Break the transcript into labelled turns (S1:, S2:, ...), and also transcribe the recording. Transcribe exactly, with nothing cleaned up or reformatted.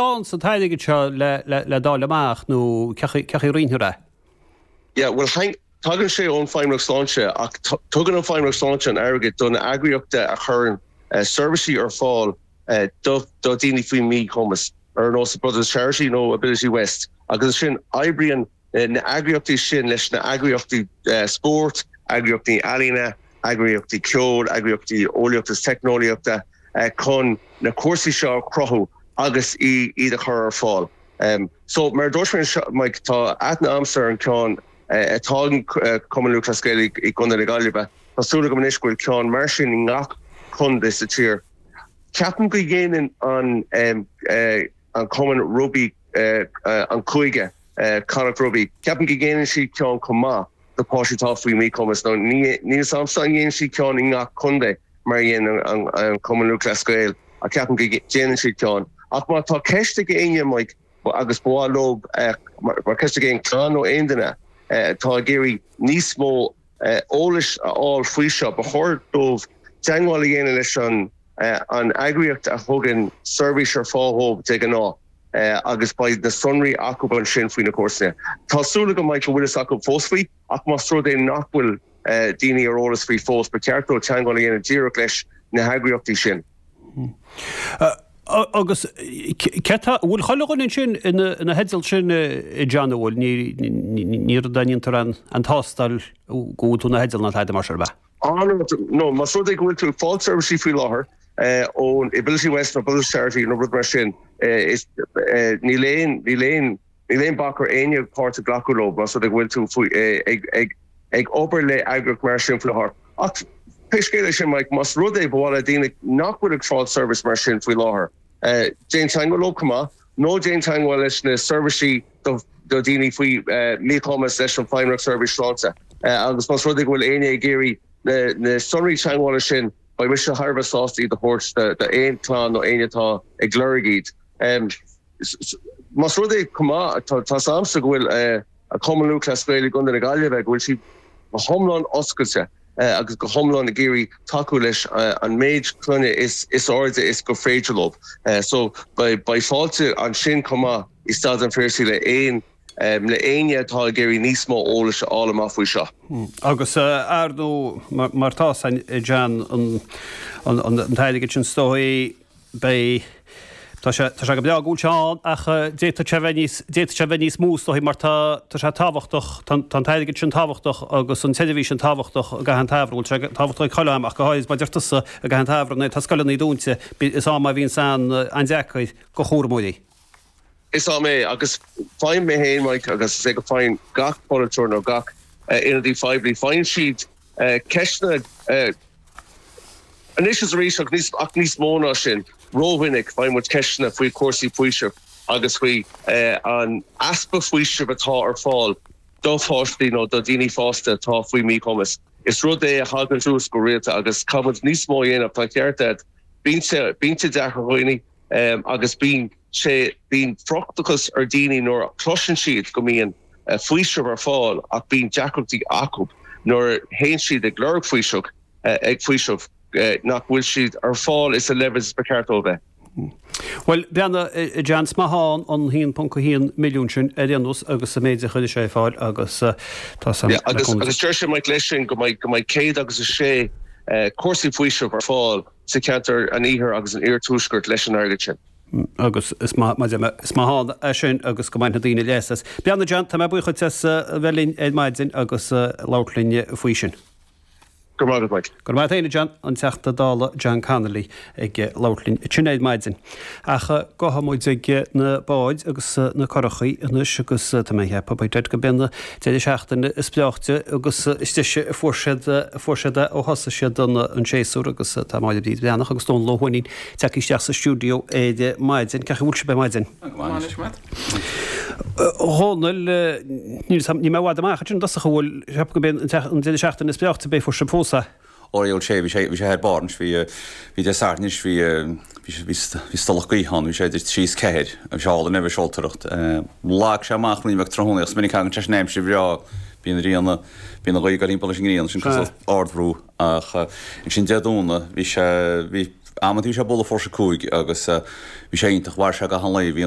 S1: ann sa t-airgead seo le le le dáil amach nó cén chaoi a roinntear é?
S2: Yeah, well tagann sé ón Feidhmeannacht Sláinte ach tugann an Feidhmeannacht Sláinte an airgead don eagraíocht a chuireann uh, seirbhísí ar fáil uh, do do daoine faoi míchumas ar nós Brothers Charity nó Ability West agus sin oibríonn uh, na eagraíochtaí sin leis na eagraíochtaí uh, spórt, eagraíochtaí ealaíne, eagraíochtaí ceoil, eagraíochtaí eolaíochta teicneolaíochta uh, chun na cúrsaí seo cruthú agus iad a chur ar fáil. Um, so mar dúirt Mike tá aithne agamsa ar an ceann atá uh, Cumann Lúthchleas Gael i gContae na Gaillimhe. Tá súil agam anois go bhfuil ceann mar sin i ngach contae sa tír. Ceapaim go ndéanann an um, uh, an Cumann Rugbaí uh, uh, an cúige uh, Connacht Rugby. Ceapaim go ndéanann siad ceann chomh maith do pháistí atá faoi míchumas nó ní samsa an dhéanann siad ceann i ngach contae mar dhéanann an, an Cumann Lúthchleas Gael a ceapaim go ndéanann siad ceann. Ach má tá ceist ag éinne Mike agus ba mhaith leo mar ceist ag aon chlann nó aon duine tá ag iarraidh níos mó eolais a fháil faoi seo ba chóir dóibh teagmháil a dhéanamh leis an an eagraíocht a thugann seirbhís ar fáil dóibh de ghnáth agus beidh na sonraí acu ansin faoi na cúrsaí. Tá súil agam go bhfuil acu fós faoi ach más rud é nach bhfuil daoine ar eolas faoi fós ba cheart dóibh teagmháil a dhéanamh díreach leis na heagraíochtaí sin.
S1: Agus bhfuil chuile dhuine sin ina theideal sin John bhfuil ní dhéantar an an tástáil go bhfuil tú ina theideal ná tada mar sin be.
S2: No más rud é go bhfuil tú ag fáil seirbhísí faoi láthair ón Ability West nó Brothers Charity nó rud mar sin níl aon níl aon níl aon bac ar éinne páirt a ghlacadh leo más rud é go bhfuil tú ag ag ag obair le eagraíocht mar sin faoi láthair. Ach pé scéal é sin Mike más rud é ba mhaith le daoine nach bhfuil ag fáil seirbhís mar sin faoi láthair. Uh, déan teagmháil leo chomh maith, nó déan teagmháil leis na seirbhísí do do daoine faoi uh, míchumas leis an Feidhmeannacht Seirbhís Sláinte. Uh, agus más rud é go bhfuil éinne ag iarraidh na, na sonraí teagmhála sin beidh mise thar a bheith sásta iad a thabhairt d'aon chlann nó éinne atá ag lorg iad. Um, Más rud é chomh maith tá agamsa go bhfuil uh, a Cumann Lúthchleas Gael i gContae na Gaillimhe go bhfuil siad go hiomlán oscailte uh, agus go hiomlán ag iarraidh tacú leis uh, an méid clainne is is airde is gur féidir leo. Uh, so beidh beidh fáilte ansin chomh maith i Staid an Phiarsaigh le aon um, le éinne atá ag iarraidh níos mó eolais a fháil amach faoi seo.
S1: Hmm. Agus ar nó mar tá an John an an an t-airgead sin is dóigh beidh Tá sé tá sé go breá go bhfuil sé ann ach d'fhéadfadh sé bheith níos d'fhéadfadh sé bheith níos mó is dóigh mar tá tá sé tábhachtach tá an t-airgead sin tábhachtach agus an tseirbhís sin tábhachtach i gcaitheamh an tsamhraidh bhfuil sé tábhachtach ag chuile am ach go háirithe mar deir tusa i gcaitheamh an tsamhraidh nuair tá scoileanna dúnta is am a bhíonn an an-deacair do chúramóirí.
S2: Is am é agus faighim mé féin Mike agus is é go bhfaigheann gach polaiteoir nó gach ionadaí poiblí faigheann siad ceisteanna anois is arís ach níos ach níos mó ná sin rómhinic faigheann muid ceisteanna faoi chúrsaí faoisimh agus faoi an easpa faoisimh atá ar fáil do pháistí nó do daoine fásta atá faoi míchumas. Is rud é a thagann suas go rialta agus caithfimid níos mó a dhéanamh tá ceart agat bíonn sé bíonn sé deacair ar dhaoine um, agus bíonn sé bíonn frustrachas ar daoine nuair a chloiseann siad go mbíonn uh, faoiseamh ar fáil ach bíonn deacrachtaí acu nuair théann siad ag lorg faoiseamh uh, ag faoiseamh uh, nach bhfuil siad ar fáil is a level is ba cheart dóibh bheith.
S1: Well breathnaigh John is maith ann an haon ponc a haon milliún sin ar aon nós agus sa méid a chuir sé fáil agus tá
S2: yeah, agus agus deir sé Mike leis sin go mbeidh go mbeidh céad agus a sé uh, cúrsaí faoisimh ar fáil sa ceantar an iarthair agus an iarthuaiscirt leis an airgead sin.
S1: agus is maith is maith ann é sin agus go mbainfidh daoine leas as. Breathnaigh John tá mé buíoch as a bheith linn ar maidin agus labhairt linn faoi sin.
S2: Go raibh maith.
S1: Go raibh maith John an Teachta Dála John Connolly ag labhairt linn ansin ar maidin. Ach gabhfaidh muid ag na báid agus na curachaí anois agus tá mé ag ceapadh go mb'in deireadh seachtaine is breáichte agus is deise a fuair siad fuair siad ó thosaigh siad an an séasúr agus tá Máire Bríd Bhreathnach agus Dónal Ó hUaithnín tagtha isteach sa stiúideo ar maidin cén chaoi a bhfuil sibh ar maidin. Dhónaill ní mé bhd amach sin dosach bhfuil go b'in an deireadh seachtaine is breáichte b'é fuair sibh fós é.
S3: Ó sé bhí sé bhí sé ar barr bhí bhí Dé Sathairn bhí bhí bhí stolach gaoithe ann bhí sé idir trí is ceathair bhí sé álainn a seoltóireacht. Lag sé amach ní bheith tráthnóna is minic an sé aimsir bhreá bíonn riana bíonn an ghaoth timpeall leis an ngrian sin cosúil ardbhrú ach ansin Dé Domhnaigh bhí sé bhí Amantaí bhí sé ag bualadh fuair sé cúig agus bhí sé iontach, mhair sé gach aon lae, bhí an